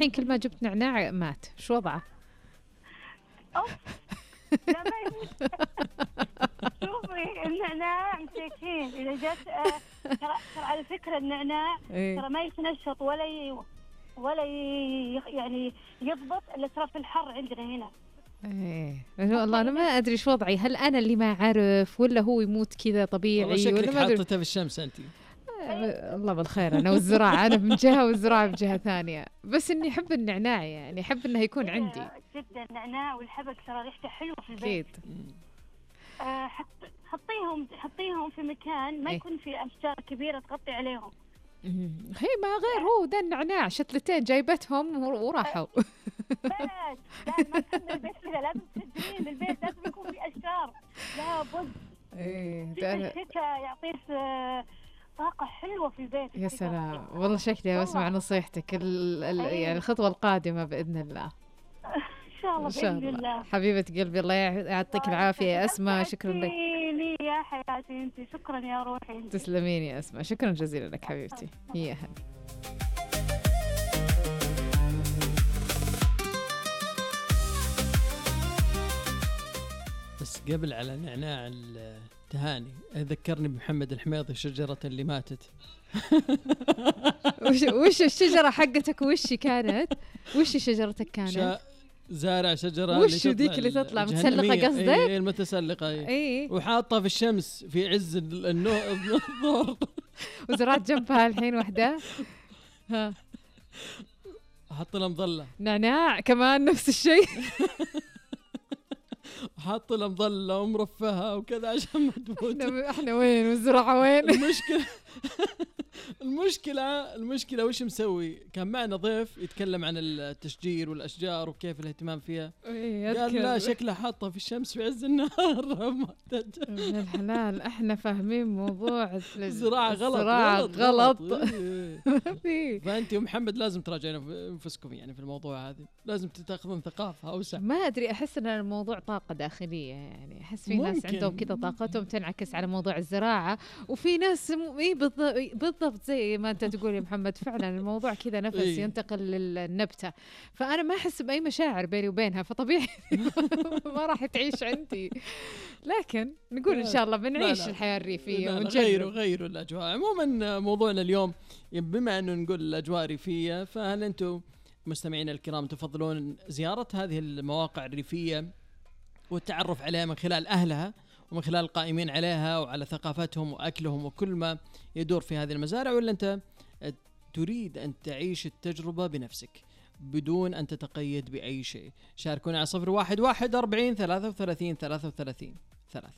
الحين كل ما جبت نعناع مات، شو وضعه؟ أوف. لا ما يموت. شوفي النعناع مسكين إذا جت ترى على فكرة النعناع ترى ما يتنشط ولا يعني يضبط إلا ترى في الحر عندنا هنا. والله أنا ما أدري شو وضعي، هل أنا اللي ما أعرف ولا هو يموت كذا طبيعي ولا ما حطيتها في الشمس أنت؟ الله بالخير. أنا والزراعة، أنا من جهة والزراعة من جهة ثانية، بس إني أحب النعناع، يعني أحب إنه يكون عندي جدا. النعناع والحبق ترى ريحته حلوة في البيت. حطيهم في مكان ما يكون في أشجار كبيرة تغطي عليهم. هي ما غير هو ده النعناع، شتلتين جايبتهم وراحوا. بس لا ما تخلي البيت كذا، لازم تسجلين البيت لازم يكون في أشجار لابد. الشتاء يعطيك طاقة حلوة في البيت. يا سلام والله، شكلي بسمع نصيحتك يعني الخطوة القادمة بإذن الله. إن شاء الله بإذن الله. حبيبة قلبي الله يعطيك العافية يا أسماء، شكرا لك. يا حياتي أنت، شكرا يا روحي. تسلمين يا أسماء، شكرا جزيلا لك حبيبتي. هي هلا. بس قبل على نعناع التهاني ذكرني بمحمد الحميضي، الشجرة اللي ماتت. وش الشجرة حقتك؟ وش كانت؟ وش شجرتك كانت؟ زارع شجرة. وش ديك اللي تطلع متسلقة قصدك؟ ايه المتسلقة. ايه وحاطها في الشمس في عز الظهر. وزرعت جنبها الحين وحدة. ها حط لها مظلة نعناع كمان نفس الشيء. حط لها مظلة ومرفهة وكذا عشان ما تموت. احنا وين والزراعة وين؟ المشكلة وش مسوي؟ كان معنا ضيف يتكلم عن التشجير والأشجار وكيف الاهتمام فيها. قال لا شكله حاطها في الشمس في عز النهار. من الحلال احنا فاهمين موضوع الزراعة غلط. فأنت ومحمد لازم تراجعون انفسكم يعني في الموضوع هذا، لازم تاخذون ثقافة أوسع. ما أدري، أحس أن الموضوع طاقة داخلية، يعني أحس في ناس عندهم كذا طاقتهم تنعكس على موضوع الزراعة، وفي ناس بالضبط زي ما أنت تقول يا محمد، فعلا الموضوع كذا نفس ينتقل للنبتة، فأنا ما أحس بأي مشاعر بيني وبينها، فطبيعي ما راح تعيش عندي. لكن نقول إن شاء الله بنعيش الحياة الريفية غيروا الأجواء. عموما موضوعنا اليوم بما أنه نقول الأجواء ريفية، فهل أنتم مستمعين الكرام تفضلون زيارة هذه المواقع الريفية والتعرف عليها من خلال أهلها ومن خلال القائمين عليها وعلى ثقافتهم وأكلهم وكل ما يدور في هذه المزارع، ولا أنت تريد أن تعيش التجربة بنفسك بدون أن تتقيد بأي شيء؟ شاركونا على 0114 40 33 33 3.